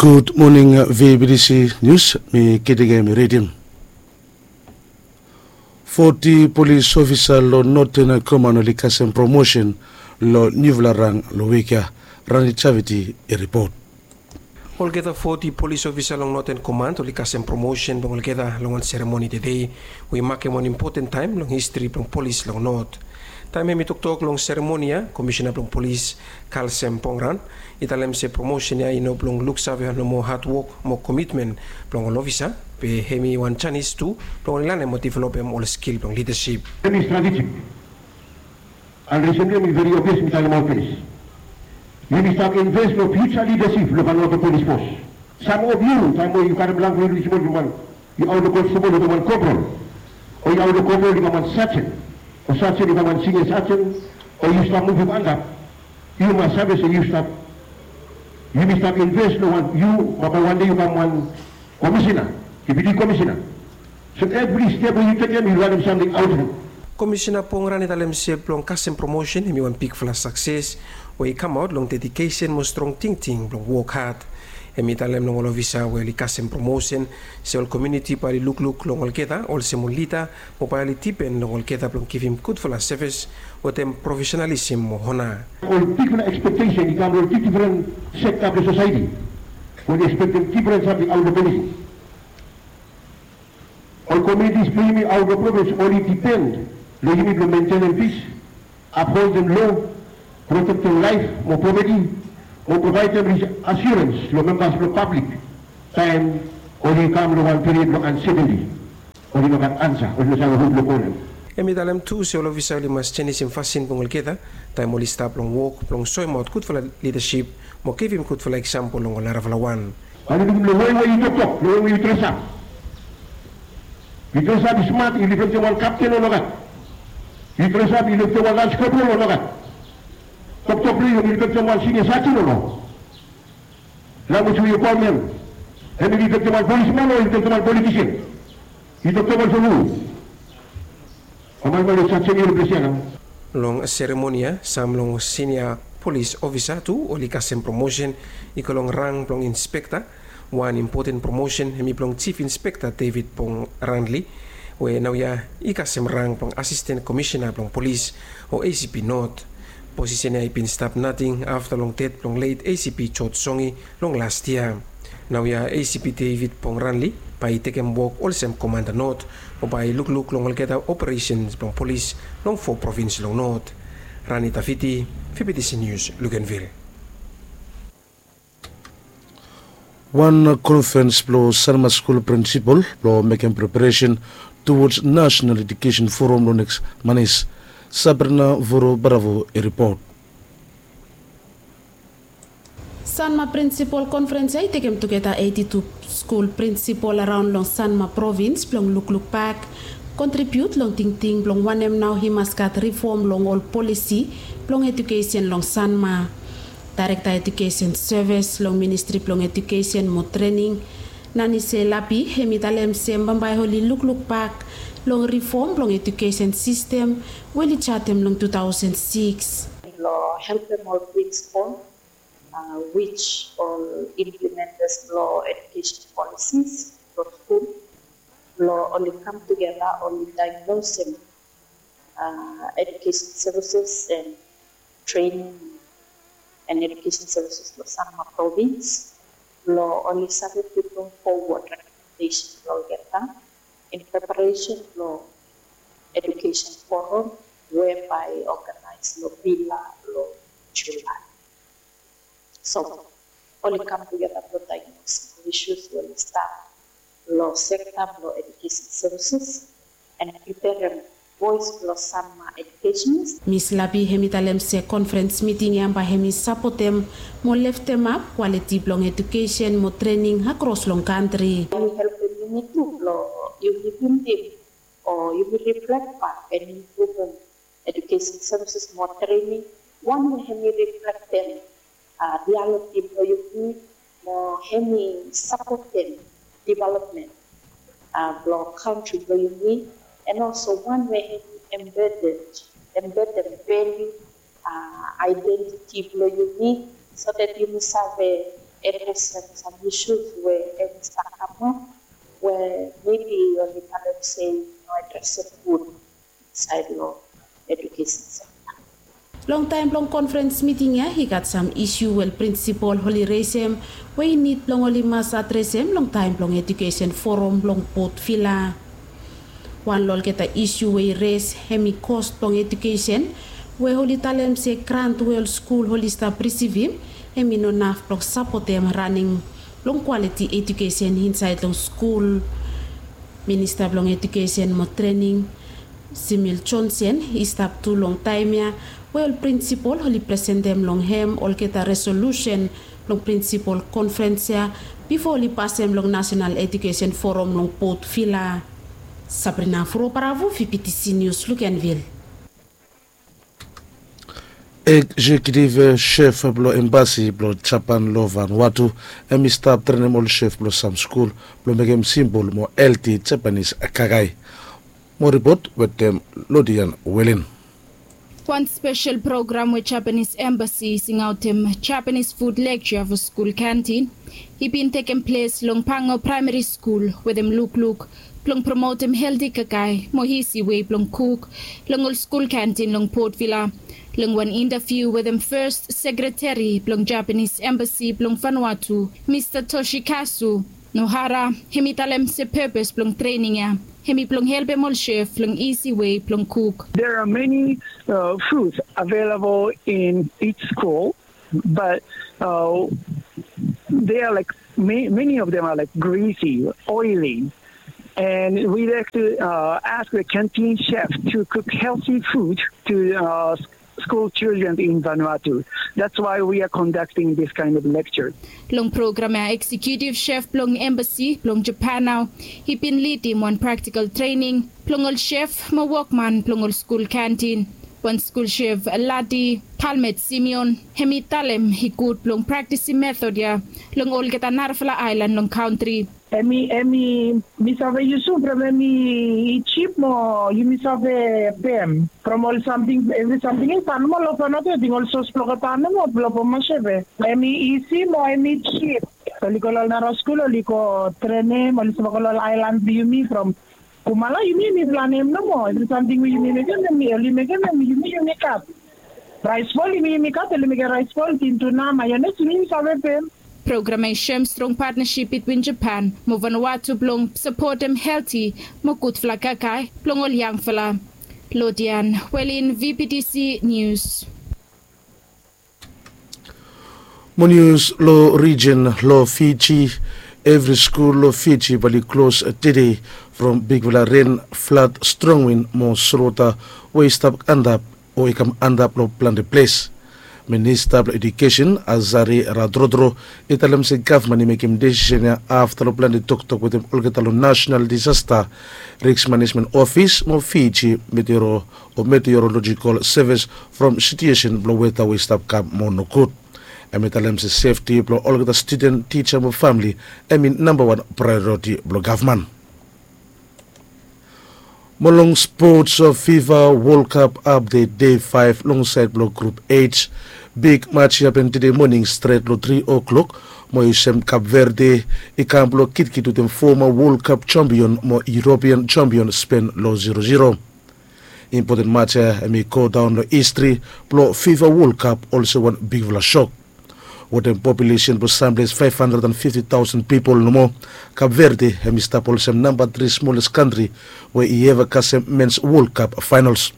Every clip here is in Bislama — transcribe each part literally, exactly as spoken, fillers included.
Gud moning, V B T C Nius, mi Kitingem i ridim. Foti polis ofisa long Northern Command oli kasem promosen long niufala rang long wik ya. Rani Javiti i ripot. Olgeta foti polis ofisa long Northern Command oli kasem promosen blong olgeta long wan seremoni tede, we i makem wan impoten taem long histri blong polis long Not. Taem hem i toktok long seremoni ya, Komisena blong Polis, Kalsem Pongran, i talem se promosen ya i no blong luksave nomo hadwok mo komitmen blong ol ofisa, be hem i wan janis tu blong oli lanem mo developem ol skil blong lidasip. Hem i stratejik. And recently mi veri obvious mi talemaot finis. Yumi stap invest long future leadership long Vanuatu Police Force. Some of you, taem we yu karem long yu smol yu man, yu aot long konstabol yu kam wan corporal. O yu aot long corporal yu kam wan sergeant. O sergeant yu kam wan senior sergeant. O yu stap muvum antap. Yu mas save se yu stap, yumi stap invest long wan, yu bambae wan dei yu kam wan komisena, deputi komisena. So evri step we yu tekem yu lanem samting aot long hem. Komisena Pongran i talem se blong kasem promosen hem i wan bigfala sakses we i kamaot long dedikesen mo strong tingting blong wok had. Hem i talem long ol ofisa we oli kasem promosen se ol komuniti bae oli lukluk long olgeta olsem ol lida mo bae oli dipen long olgeta blong givim gudfala sevis wetem profesenalisem mo ona. Ol bigfala ekspektesen i kam long difren sekta blong sosaeti. Oli ekspektem difren samting aot long polis. Ol komunitis blong yumi aot long provins oli dipen long yumi blong mentenem pis, apholdem lo, protektem laef mo propeti, mo provaedem riasurens long membas blong pablik taem oli kam long wan period blong ansetenti. Oli no gat ansa, oli no save hu blong kolem. Hem i talem tu se ol ofisa oli mas jenisim fasin blong olgeta taem oli stap long wok blong soemaot gudfala lidasip mo givim gudfala eksampol long ol narafala wan. Bae yu lukim long wei we yu toktok, long wei we yu dresap. Yu dresap i smat i riflektem wan kapten o nogat? Yu dresap i riflektem wan lans kopral o nogat? Toktok blong yu i riflektem wan sinia sajen o no? Lanwis we yu kolem hem, hem i riflektem wan polisman o i riflektem wan politisen? Yu toktok olsem hu? Long seremoni ya, sam long sinia polis ofisa tu oli kasem promosen i go long rang blong inspekta. Wan impoten promosen hemi blong Jif Inspekta David Pong Ranli, we naoia i kasem rang blong Asisten Komisena blong Polis o A C P Not. Posisen ya i bin stap nating afta long ded blong let A C P George Songi long las yia. Naoia A C P David Pong Ranli bae i tekem wok olsem Komanda Not mo bae i lukluk long olgeta operesen blong polis long fo provins long Not. Rani Tafiti, V B T C Nius, Luganville. Wan konfrens blong Sanma skul prinsipol blong mekem preparesen towards National Education Forum long neks manis. Sabrina Voro Bravo i ripot. Sanma Prinsipol Konfrens ya i tekem tugeta eiti tu skul prinsipol araon long Sanma provins blong lukluk bak, kontribiut long tingting blong wanem nao i mas gat rifom long ol polisi blong edukesen long Sanma. Daerekta Edukesen Sevis long Ministri blong Edukesen mo Trening, Nanise Lapi, hemi talem se bambae oli lukluk bak long rifom blong edukesen sistem we oli jatem long tu taosen sikis. Blong helpem ol prinsipol, a, which ol implementas blong edukesen polisis blong skul, blong oli kam tugeta oli daeglosem, a, edukesen sevises and trening and edukesen sevises blong Sanma provins, blong oli save piping fowod rekomendesen blong olgeta in preparesen blong edukesen forum we bae i oganaes long Vila long Julae. So oli kam tugeta blong daeglosim ol isus we oli stap long sekta blong edukesen sevises and preperem voes blong Sanma edukesen. Mis Lapi hemi talem se konfrens miting ya bae hemi sapotem mo leftemap kwaliti blong edukesen mo trening akros long kantri. Hemi helpem yumi tu blong yumi bildim o yumi riflek bak and impruvum edukesen sevises mo trening, wan we hemi riflektem, a, rialiti blong yumi mo hemi sapotem developmen, a, blong kantri blong yumi, and also wan we hemi embedem, embedem valiu, a, aedentiti blong yumi, so that yumi save Adresem sam issues we hemi stap kamap we maybe oli talem se i no adresem gud insaed long education sekta. Long taem blong konfrens miting ya i gat sam isu we ol prinsipol oli resem we i nid blong oli mas adresem long taem blong edukesen foram long Port Vila. Wan long olgeta isu we i res hemi kos blong edukesen we oli talem se grant we ol skul oli stap risivim hemi no naf blong sapotem raning blong kwaliti edukesen insaed long skul. Minista blong edukesen mo trening Simil Jonsen i stap tu long taem ya we ol prinsipol oli presentem long hem olgeta resolusen blong prinsipol konfrens ya bifo oli pasem long Nasenal Edukesen Foram long Port Vila. Sabrina Furo Paravu, V P T C News, Luganville. Egzekitiv shef blong embasi blong Japan long Vanuatu hemi stap trenem ol shef blong sam skul blong mekem simpol mo helti Japanis kakae. Mo ripot wetem Lodian Welen. Wan spesel program we Japanis embasi i singaotem Japanis fud lekja fo skul kantin i bin tekem ples long Pango Praemari Skul wetem lukluk blong promotem helti kakae mo isi wei blong kuk long ol skul kantin long Port Vila. Long wan intaviu wetem fes sekreteri blong Japanis embasi blong Vanuatu, Mista Toshikazu Nohara, hemi talem se pepes blong trening ya hemi blong helpem ol shef long isi wei blong kuk. There are many uh, foods available in each school, but uh, they are like ma- many of them are like greasy, oily, and we like to uh, ask the canteen chef to cook healthy food to uh, school children in Vanuatu. That's why we are conducting this kind of lecture. Long program ya, eksekutiv shef blong embasi blong Japan nao i bin lidim wan praktikal trening blong ol shef mo wokman blong ol skul kantin. Wan skul shef, Ladi Talmet Simeon, hemi talem i gud blong praktisim metod ya long olgeta narafala aelan long kantri. Hemi hemi mi save yusum from hemi i jip mo yumi save pem from ol samting, evri samting i tan mo lo Vanuatu. Ating ol sos blong olgeta nomo blong Vanuatu. Hemi isi mo hemi jip. Oli go lo ol nara skul, oli go trenem, oli save go lo ol aelan blong yumi from Kumala, yumi yumi planem nomo. Evri samting we yumi mekem, hemi oli mekem, hemi yumi yumi kat. Raes bol yumi yumi kat, oli mekem raes bol, tin tuna, mayones, yumi yumi save pem. Program ya i sem strong patnasip bitwin Japan mo Vanuatu blong sapotem helti mo gudfala kakae blong ol yangfala. Lodian Welin, V P T C News. Mo nius lo rijen lo Fiji. Evri skul lo Fiji bae oli klos tede from bigfala ren, flad, strong win mo solwota we i stap antap o i kam antap lo plante ples. Minista blo Edukesen, Azari Radrodro, i talem se gavman i mekem desisen ya afta lo plante toktok wetem olgeta lo Nasenal Disasta Risk Manejmen Ofis mo Fiji Meteoro o Meteorolojikol Sevis from situesen blo weta we i stap kam moa nogud. Hem i talem se sefti blo olgeta studen, tija mo famle hem i nambawan praeoriti blo gavman. Mo long spots, Fifa Wol Kap apdet, dei faef long saed blo Grup H. Big maj i hapen tede moning stret lo tri o'klok mo i sem Kap Verde i kam blo kitkit wetem foma Wol Kap jampion mo Yuropian jampion Spen lo zero zero. Impoten maj ya hem i godaon lo histri blo Fifa Wol Kap olsem wan bigfala sok. Wetem populesen blo samples faef handred an fifti taosen pipol nomo, Kap Verde hem i stap olsem namba tri smoles kantri we i eva kasem mens Wol Kap faenols.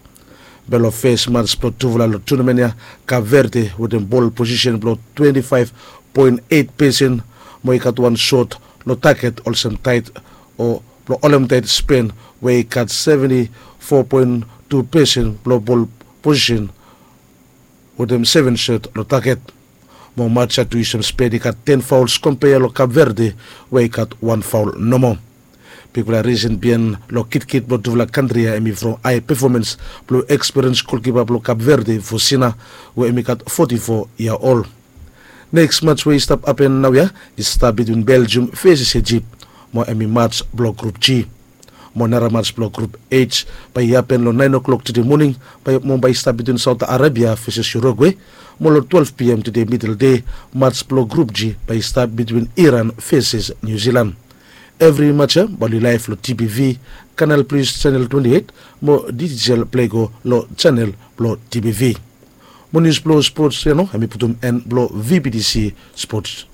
Be lo fes maj blo tufala lo tunamen ya, Kap Verde wetem bol posisen blo twenti faef poen eit pesen mo i gat wan sot lo taget olsem taet o blo holem taet Spen we i gat seventi fo poen tu pesen blo bol posisen wetem seven sot lo taget. Mo maj ya tu i sem Spen i gat ten faols kompea lo Kap Verde we i gat wan faol nomo. Bigfala risen biaen lo kitkit blo tufala kantri ya hem i from hae pefomans blo ekspiriens golkipa blo Kap Verde, Fosina, we hem i gat foti fo yia ol. Neks maj we i stap hapen naoia i stap bitwin Beljium veses Ijip mo hem i maj blo Grup G. Mo nara mats blong grup h bae i hapen long naen o'klok tede moning, bae mo bae i stap bitwin saot arabia veses urugue. Mo long twelve pm tede midel de, mats blong grup g bae i stap bitwin iran veses niu zilan. Evri mats ya bae oli laef long tbv, kanal plis senel twenti eit, mo dijital plego long senel blong tbv. Mo nius blong spots ya no hem i putum en blong vbtc spots.